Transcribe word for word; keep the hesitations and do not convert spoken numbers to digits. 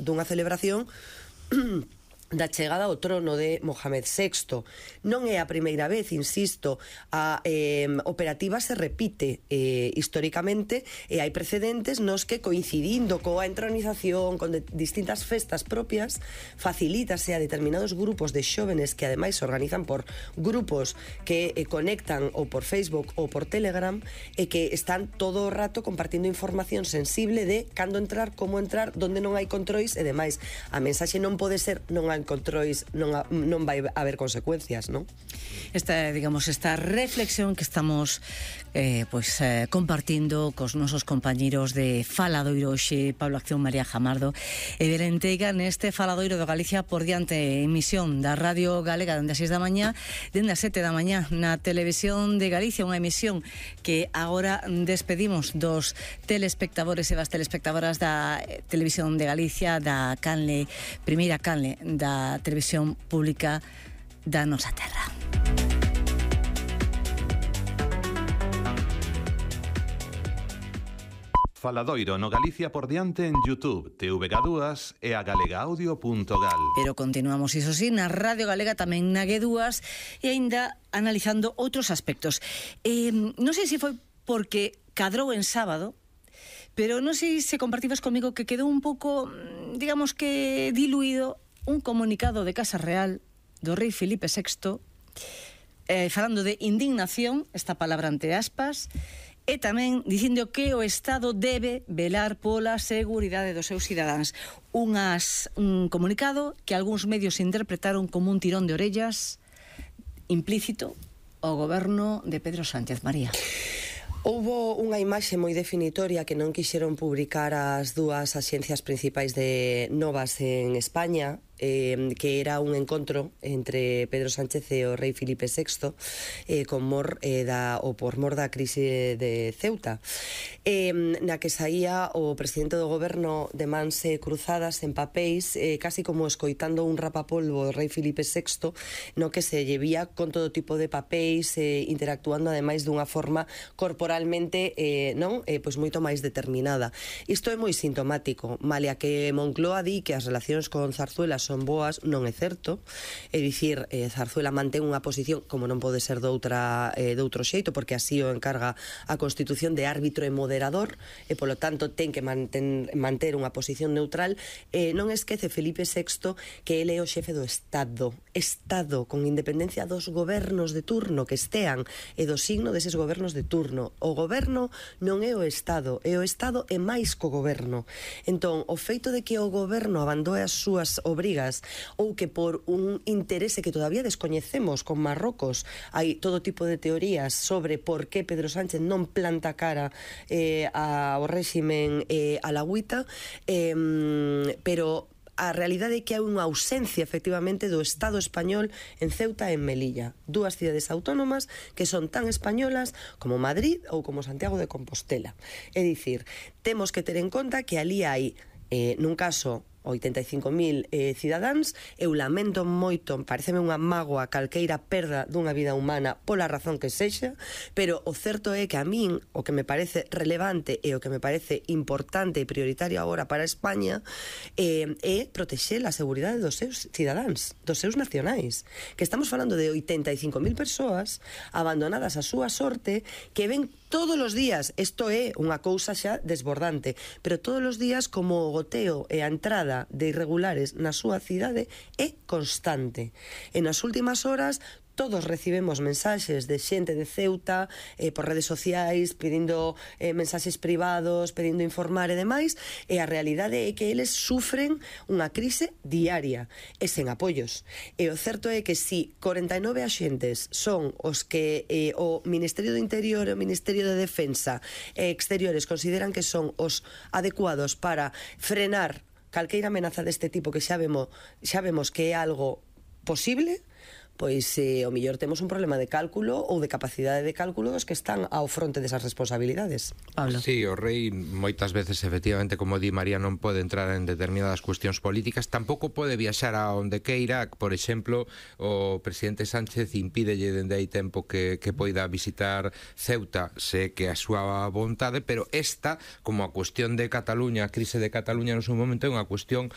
dunha celebración da chegada ao trono de Mohamed sexto. Non é a primeira vez, insisto, a eh, operativa se repite eh, históricamente, e hai precedentes nos que, coincidindo coa entronización, con de, distintas festas propias, facilítase a determinados grupos de xóvenes que ademais se organizan por grupos que eh, conectan ou por Facebook ou por Telegram, e que están todo o rato compartindo información sensible de cando entrar, como entrar, donde non hai controis e demais. A mensaxe non pode ser non hai controis, non, a, non vai haber consecuencias, non? Esta, digamos, esta reflexión que estamos eh, pues, eh, compartindo cos nosos compañeros de Faladoiro hoxe, Pablo Acción, María Jamardo e Belén Teiga, neste Faladoiro do Galicia por diante, emisión da Radio Galega dende as seis da mañá, dende as sete da mañá na Televisión de Galicia, unha emisión que agora despedimos dos telespectadores e das telespectadoras da Televisión de Galicia, da canle, primeira canle da Televisión Pública da nosa terra. Faladoiro no Galicia por diante en YouTube, T V G dúas e a galegaudio punto gal. Pero continuamos, iso sí, na Radio Galega, tamén na G dúas, e aínda analizando outros aspectos. Eh, non sei se foi porque cadrou en sábado, pero non sei se compartides comigo que quedou un pouco, digamos que diluído, un comunicado de Casa Real do rei Filipe sexto eh, falando de indignación, esta palabra entre aspas, e tamén dicindo que o Estado debe velar pola seguridade dos seus cidadáns. Unhas, un comunicado que algúns medios interpretaron como un tirón de orellas implícito ao goberno de Pedro Sánchez. María. Houbo unha imaxe moi definitoria que non quixeron publicar as dúas axencias principais de novas en España, eh, que era un encontro entre Pedro Sánchez e o rei Filipe sexto, eh, con mor, eh, da, o por mor da crise de Ceuta, eh, na que saía o presidente do goberno de mans cruzadas en papéis, eh, casi como escoitando un rapapolvo do rei Filipe sexto, no que se llevía con todo tipo de papéis, eh, interactuando ademais dunha forma corporalmente eh, non eh, pois moito máis determinada. Isto é moi sintomático, malia que Moncloa di que as relacións con Zarzuela son boas, non é certo. É dicir, eh, Zarzuela mantén unha posición, como non pode ser doutra, eh, doutro xeito, porque así o encarga a Constitución, de árbitro e moderador, e polo tanto ten que manten, manter unha posición neutral. Eh, non esquece Felipe sexto que ele é o xefe do Estado, Estado, con independencia dos gobernos de turno que estean e do signo deses gobernos de turno. O goberno non é o Estado, é o Estado e máis co goberno. Entón, o feito de que o goberno abandoe as súas obrigas, ou que por un interese que todavía descoñecemos con Marrocos, hai todo tipo de teorías sobre por que Pedro Sánchez non planta cara eh, ao réximen eh, a la agüita, eh, pero a realidade é que hai unha ausencia efectivamente do Estado español en Ceuta e en Melilla, dúas cidades autónomas que son tan españolas como Madrid ou como Santiago de Compostela. É dicir, temos que ter en conta que ali hai, eh, nun caso, oitenta e cinco mil eh, cidadáns. Eu lamento moito, pareceme unha mágoa calqueira perda dunha vida humana pola razón que sexa, pero o certo é que a min o que me parece relevante e o que me parece importante e prioritario agora para España eh, é protexer a seguridade dos seus cidadáns, dos seus nacionais, que estamos falando de oitenta e cinco mil persoas abandonadas a súa sorte, que ven todos os días, isto é unha cousa xa desbordante, pero todos os días como o goteo e a entrada de irregulares na súa cidade é constante. E nas últimas horas todos recibemos mensaxes de xente de Ceuta eh, por redes sociais pedindo eh, mensaxes privados, pedindo informar e demais, e a realidade é que eles sufren unha crise diaria e sen apoios. E o certo é que si corenta e nove axentes son os que eh, o Ministerio do Interior e o Ministerio de Defensa e Exteriores consideran que son os adecuados para frenar calqueira amenaza deste tipo, que xa vemos, xa vemos que é algo posible, pois eh, o mellor temos un problema de cálculo ou de capacidade de cálculo dos que están ao fronte desas responsabilidades. Pablo. Sí, o rei moitas veces, efectivamente, como di María, non pode entrar en determinadas cuestións políticas, tampouco pode viaxar a onde queira. Por exemplo, o presidente Sánchez impídelle dende hai tempo que, que poida visitar Ceuta, sé que a súa vontade, pero esta, como a cuestión de Cataluña, a crise de Cataluña no seu momento, é unha cuestión